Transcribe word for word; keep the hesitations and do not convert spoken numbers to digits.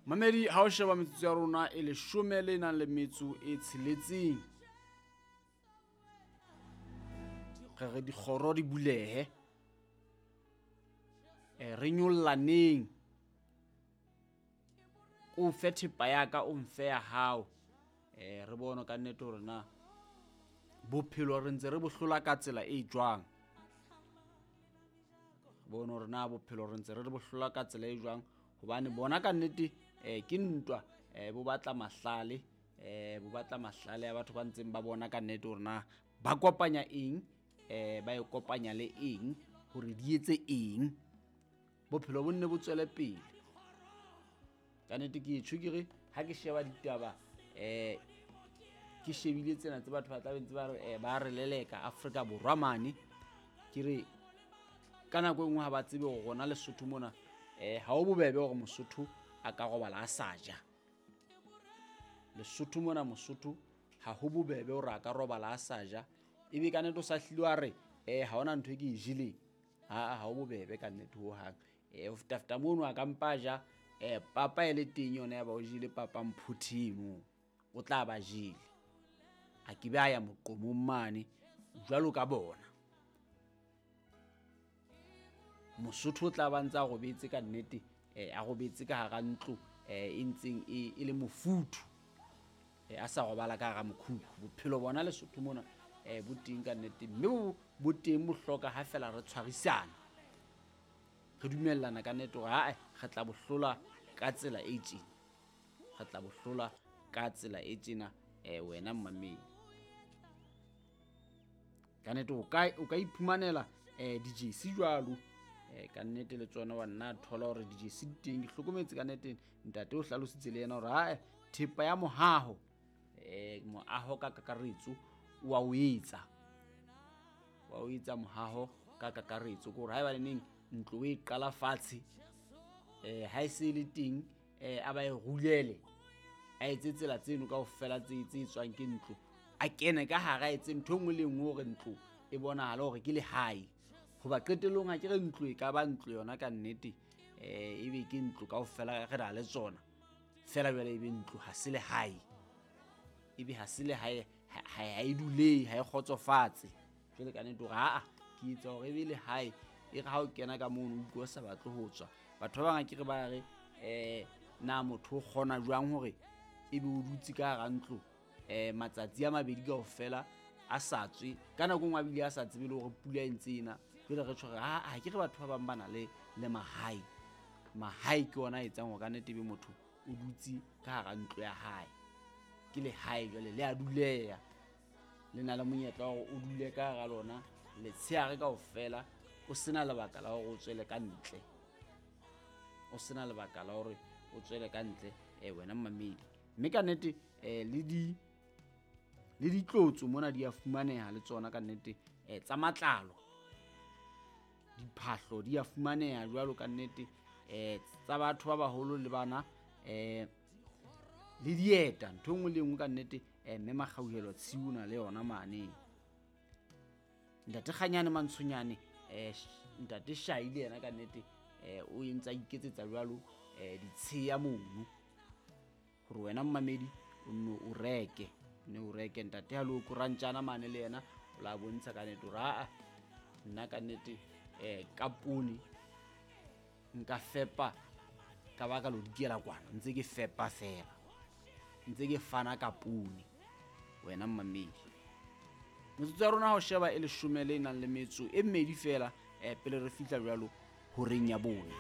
Mamedi, ha o sheba metsotso ya rona e leshome le nang le metso e tsheletseng, re re dikgoro di bulehe, eh, re nyollaneng, o fe thepa ya ka, o mfe ya hao, eh, re bone ka nnete hore na bophelo re ntse re bo hlola ka tsela e jwang. Re bone hore na bophelo re ntse re bo hlola ka tsela e jwang, hobane bona ka nnete, eh, ke ntwa, eh, bo batla mahlale, eh, bo batla mahlale a batho ba ntseng ba bona ka nnete hore na ba kopanya eng, eh, ba e kopanya le eng hore di etse eng, bophelo bo nne bo tswele pele. Ka nnete ke tjho ke re ha ke sheba ditaba, eh, ke shebile tsena tse batho ba tla be ntse ba re, eh, ba re leleka Afrika Borwa mane, ke re ka nako e nngwe ha ba tsebe hore rona Lesotho mona, eh, ha ho bobebe hore Mosotho a ka robala a sa ja. Lesotho mona Mosotho ha ho bobebe hore a ka robala a sa ja, ebe ka nnete o sa hlile wa re, eh, ha hona ntho e ke e jeleng. Ha, ha ho bobebe ka nnete hohang. Eh, ho feta-feta mono a ka mpa ja, eh, papa e le teng yona ya ba o jele papa mphutheng moo, o tla ba jele. A ke be a ya moqomong mane jwalo ka bona. Mosotho o tla ba ntse a robetse ka nnete, eh, a robetse ka hara ntlo, eh, e ntseng e, e le mofuthu, eh, a sa robala ka hara mokhukhu. Bophelo bona Lesotho mona, eh, bo teng ka nnete, mme bo, bo teng bo hloka ha fela re tshwarisana, re dumellana ka nnete hore ha-eh, re tla bo hlola ka tsela e tjena, re tla bo hlola ka tsela e tjena, eh, wena mmamedi. Ka nnete o ka, o ka iphumanela, eh, di-jersey jwalo, eh, ka nnete le tsona wa nna thola hore di-jersey di teng. Ke hlokometse ka nnete ntate o hlalositse le yena hore ha-eh, thepa ya mohaho, eh, moaho ka kakaretso o wa o etsa, wa o etsa mohaho ka kakaretso, ke hore haeba le neng ntlo o e qala fatshe, eh, ha e se le teng, eh, a ba e rulele, a etse tsela tseno kaofela tse, tse tswang ke ntlo, a kene ka hara, a etse ntho e nngwe le e nngwe hore ntlo e bonahale hore ke lehae. Hoba qetellong ha ke re ntlo e ka ba ntlo yona ka nnete, eh, ebe ke ntlo kaofela re na le tsona, feela jwale ebe ntlo ha se lehae, ebe ha se lehae, ha, ha, ha e dulehe, ha e kgotsofatse. Jwale ka nnete hore ha-a, ke etsa hore ebe lehae, e re ha o kena ka mono o utlwe o sa batle ho tswa. Batho ba bang akere ba re, eh, na motho o kgona jwang hore ebe o dutse ka hara ntlo, eh, matsatsi a mabedi kaofela a sa tswe, ka nako e nngwe a bile a sa tsebe le hore pula e ntse e na. Jwale re tjho re, ha, ha ke re batho ba bang ba na le, le mahae. Mahae ke ona a etsang hore ka nnete ebe motho o dutse ka hara ntlo ya hae. Ke lehae jwale, le a duleha, le na le monyetla wa hore o dule ka hara lona letshehare kaofela, o sena lebaka la hore o tswele ka ntle, o sena lebaka la hore o tswele ka ntle, eh, wena mmamedi. Mme ka nnete, eh, le di, le ditlotso mona di a fumaneha le tsona ka nnete, eh, tsa matlalo, diphahlo di a fumaneha jwalo ka nnete, eh, tsa batho ba baholo le bana, eh, le dieta, ntho e nngwe le e nngwe ka nnete, eh, mme Makgauhelo Tshiu na le yona mane. Ntate Kganyane Mantshonyane, eh, ntate Shai le yena ka nnete, eh, o entse a iketsetsa jwalo, eh, ditsheya mono hore wena mmamedi o nno o reke, nne o reke. Ntate ha le o korantjana mane le yena o la bontsha ka nnete hore ha-a, nna ka nnete, eh, ka poone nka fepa ka baka lo dikela kwana, ntse ke fepa fela, ntse ke fana ka poone wena mmamedi. Metsotso ya rona ha o sheba e leshome le nang le metso e mmedi fela, eh, pele re fihla jwalo horeng ya bone.